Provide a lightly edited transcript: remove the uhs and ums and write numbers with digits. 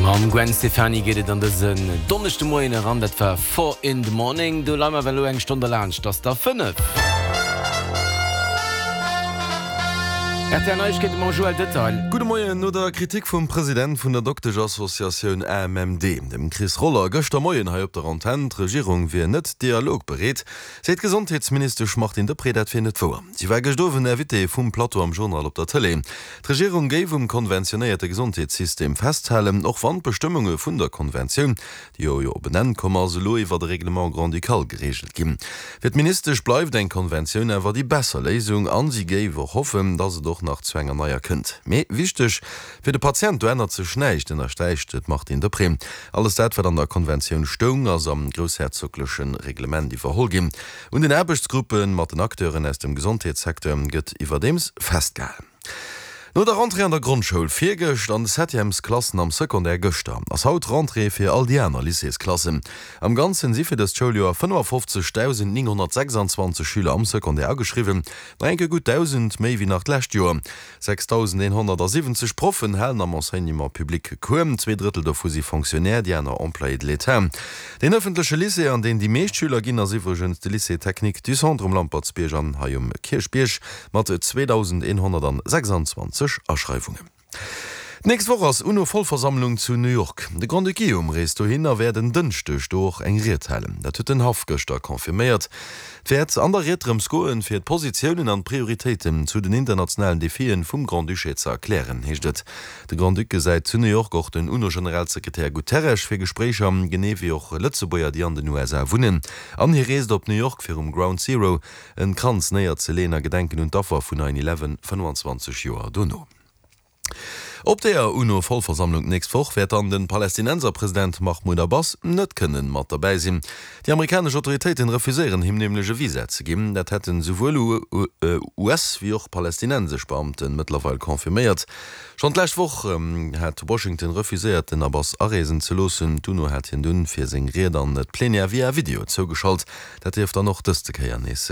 Mam Gwen Stefani geet et an dësen Donneschdemoien eran. Dat war Four in the Morning. Do leie mer awer elo eng Stonn derlaanscht. Ass der 5. Rtl Neiegkeete mam Joël Detail. Gudde Moien. No der Kritik vum President vun der Dokteschassociatioun AMMD, dem Chris Roller, gëschter Moien hei op der Antenn, d'Regierung wier net dialogbereet, seet d'Gesondheetsministesch Martine Deprez, dat wier net wouer. Si war gëscht Owend Invitée vum Plateau am Journal op der Tëlee. D'Regierung géif um konventionéierte Gesondheetssystem festhalen, och wann d'Bestëmmunge vun der Konventioun, déi jo jo op en Enn komm ass, elo iwwert e Règlement grand-ducal gereegelt ginn. Fir d'Ministesch bleift eng Konventioun awer déi besser Léisung an si géif och hoffen, datt et och nach zu enger neier kënnt. Mee wichteg fir de Patient, do ännert sech näischt, ënnersträicht d'Martine Deprez. Alles dat, wat an der Konventioun stoung, ass am groussherzogleche Reglement iwwerholl ginn. Un den Aarbechtsgruppe mat den Acteuren aus dem Gesondheetssecteur gëtt iwwerdeems festgehalen. No der Rentrée an der Grondschoul virgëscht an de Septièmesklassen am Secondaire gëschter, ass haut d'Rentrée fir all déi aner Lycéesklassen. Am Ganzen si fir dëst Schouljoer 55.926 Schüler am Secondaire ageschriwwen, nach eng Kéier gutt 1.000 méi wéi nach d'lescht Joer. 6.170 Proffen halen am Enseignement public Cours, 2 Drëttel dovu si Fonctionnaires, déi aner Employés de l'État. Deen ëffentleche Lycée, an deen déi meescht Schüler ginn, ass iwwregens de Lycée technique du Centre um Lampertsbierg an hei um Kierchbierg. Mat 2.126 Aschreiwungen. D'nächst Woch ass UNO-Vollversammlung zu New York. De Grand-Duc Guillaume reest dohin a wäert en Dënschdeg do och eng Ried halen. Dat huet den Haff gëschter confirméiert. Et wäert an der Ried drëms goen, fir d'Positiounen an d'Prioritéiten zu den internationalen Defien vum Grand-Duché ze erklären, heescht et. De Grand-Duc gesäit zu New York och den UNO-Generalsekretär Guterres fir Gespréicher, genee wéi och Lëtzebuerger, déi an den USA wunnen. An hie reest op New York fir um Ground Zero En Kranz néier ze leen a gedenken un d'Affer vun 9 Eleven 25 Joer dono. Op der UNO-Vollversammlung d'nächst Woch wäert dann den Palästinenserpresident Mahmoud Abbas net kënnen mat derbäi sinn. Déi amerikanesch Autoritéiten refuséieren him nämlech e Visa ze ginn. Dat hätten souwuel US wéi och palästinensesch Beamten mëttlerweil confirméiert. Schonn d'lescht Woch hat Washington refuséiert den Abbas areesen ze loossen. D'UNO hat hien dunn fir seng Ried an d'Plenière via Video zougeschalt. Dat dierft dann och dëste Kéier nees.